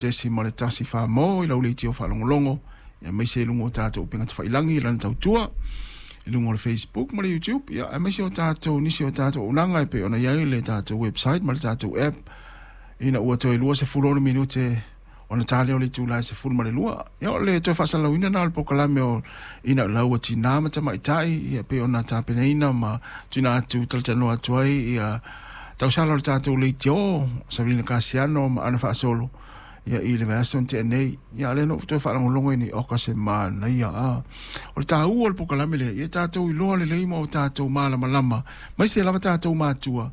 6.1 fā-mō i lau leitio faalogologo aemaise i luga o tatou upega tafailagi i lana tautua i luga o le Facebook ma le YouTube, ia aemaise o tatou nisi o tatou auaunaga e pei ona i ai le tatou website ma le tatou app. Ina ua toe 26 minute ona ta lea o le itula e 12, ia o le toe faasalalauina lena o le polokalame o Ina Lau Ua Tinā ma Tamaitai, ia pei ona tapenaina ma tuuina atu talatalanoa atu ai ia tausala o le tatou leitio Savelina Kasiano ma ana faasolo ia i le vaiaso na tea nei. Ia a lea na ou toe faalogologo i nei oka se manaia a. O le taua o le polokalame lea, ia tatou iloa lelei ma o tatou malamalama, aemaise lava tatou matua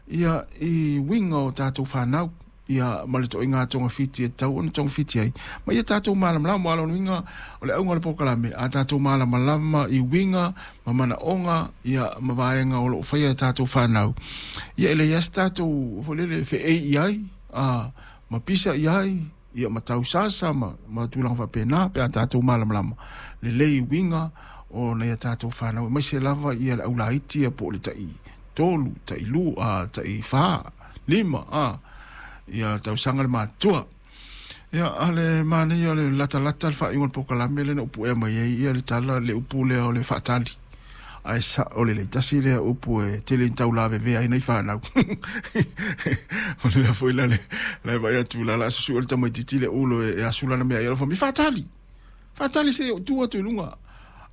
ia i uiga o tatou fanau ia ma le toaiga togafiti e tatau ona togafiti ai, ma ia tatou malamalama. Aua o lona uiga o le auga o le polokalame, a tatou malamalama i uiga ma manaoga ia ma vaega o lo o faia e tatou fanau, ia e leai lava se tatou foi lele feei i ai a ma pisa i ai ia ma tausasa ma tulaga faapena pe a tatou malamalama lelei i uiga o nai a tatou fanau, aemaise lava ia le aulaiti ia po o le tai 3, tai 2, tai 4, 5, ia tausaga le matutua. Ia, a le manaia o le latalata le faaiuga o le polokalame lea na upu ea mai ai ia le tala, le upu lea o le faatali. Ae sao lelei, tasi lea upu e tele ina taulavevea ai nai fanau. O le mea foi la le la e vaai atu la la susue le tamaitiiti le ulo e asu lana mea ai alofa mai faatali. Faatali se i ou tu atu i luga.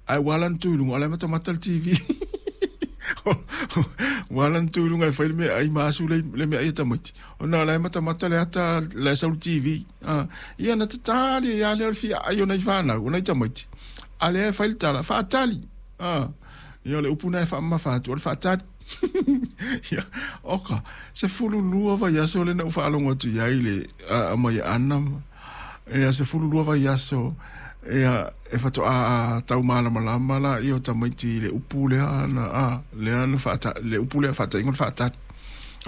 Ae ua ala ona tu i luga, o la e matamata le TV. Ua ala ona tu i luga e fai le meaai ma asu le, le meaai a tamaiti. Ona o la e matamata le ata la e sau le TV. Ah, ia na tatali ai lava lea o le fia ai o nai fanau, o nai tamaiti. A lea e fai le tala, faatali. Ah, ia o le upu na e faamamafa atu, o le faatali. Ia, oka, 12 vaiaso lea na ou faalogo atu i ai le a, mai Ana ia 12 vaiaso ia e faatoa tau malamalama laia o tamaiti i le upu lea na a lea na faata le upu lea faataiga o le faatali.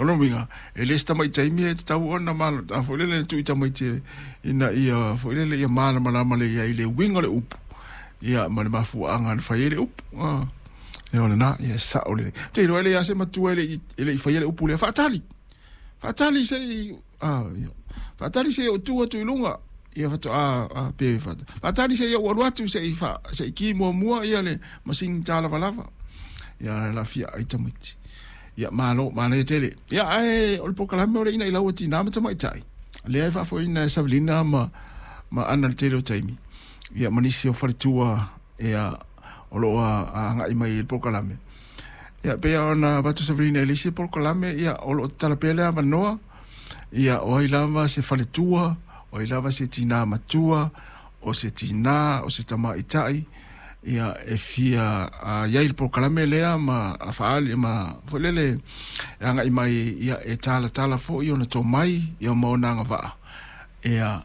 O lona uiga, e le o se tamai taimi e tatau ona a foi lele tuu i tamaiti ina ia foi lele ia malamalama lelei ai i le uiga o le upu ia ma le mafuaaga na fai ai le upu. A ia o lena, ia e sao lelei. Ou te iloa e leai lava se matua e le i faia le upu lea, faatali, faatali se i a ia faatali se i ou tu atu i luga ia faatoa a pe faatali se i ou alu atu se i fa se i ki muamua ia le masini tālavalava ia la fia ai tamaiti. Ia malo, manaia tele. Ia ae o le polokalame o le ina i lau tinā ma tamaitai lea e faafoeina e Savelina ma Ana le tele o taimi ia ma nisi o faletua ia o lo o agai mai i le polokalame. Ia pei ona avatu Savelina i le isi polokalame ia o lo o tatala pea le avanoa ia o ai lava se faletua, o ai lava se tinā matua, o se tinā, o se tamaitai ia e fia i ai i le polokalame lea ma faaali ma foi lele e agai mai ia e talatala foi ona tomai ia ma ona agavaa ia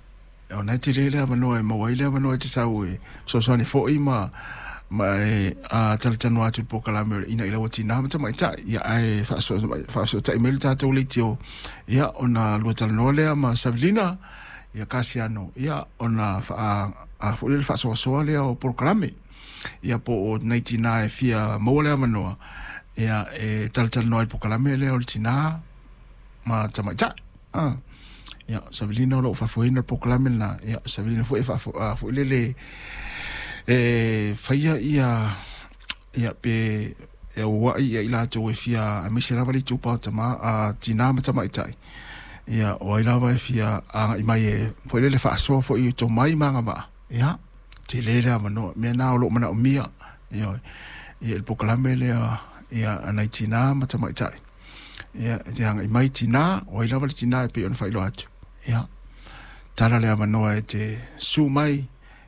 ona e tele le avanoa e maua ai le avanoa e te sau e fesoasoani foi ma e talatalanoa atu i le polokalame o le Ina i Lau Tinā ma Tamaitai. Ia ae faafesootai mai le tatou leitio ia ona lua talanoa lea ma Savelina ia Kasiano ia ona faa a foi lele faasoasoa lea o polokalame ia po o nai tinā e fia maua le avanoa ia e talatalanoa i le polokalame lea o le tinā ma tamaitai. Ah. Ia, Savelina o lo o faafoeina le polokalame lena. Ia, Savelina foi e faafo, a, foi lele e faia ia, ia pe e auauai ia i latou e fia, aemaise lava le itupa o tama, a, tinā ma tamaitai. Ia, o ai lava e fia agai mai e foi lele faasoa foi i tomai ma agavaa. Ia, tele le avanoa. Mea na o lo o manaomia. Ia, ia le polokalame lea, ia, a nai tinā ma tamaitai. Ia, e te agai mai tinā, o ai lava le tinā e pei ona faailoa atu. Ia, tala le avanoa e te su mai,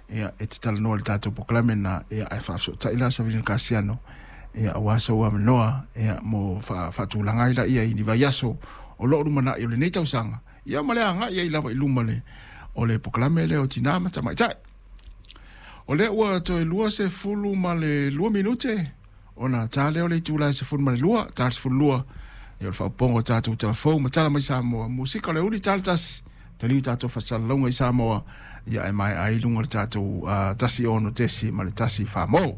ia, e te talanoa i le tatou polokalame lena, ia, ae faafesootai la Savelina Kasiano, ia, aua sou avanoa, ia, mo faatulaga ai laia i ni vaiaso o lo o lumanai o lenei tausaga, ia, ma le agai ai lava i luma le, o le polokalame lea o Tinā ma Tamaitai. O lea ua toe 22 minute ona ta lea o le itula e 12, ta le 12, ia o le faaopoopoga o tatou tala fou ma tala mai Samoa, musika o le uli ta le tasi, taliu tatou faasalalauga i Samoa, ia e maea ai i luga o le tatou 16 ma le 1 fā mō.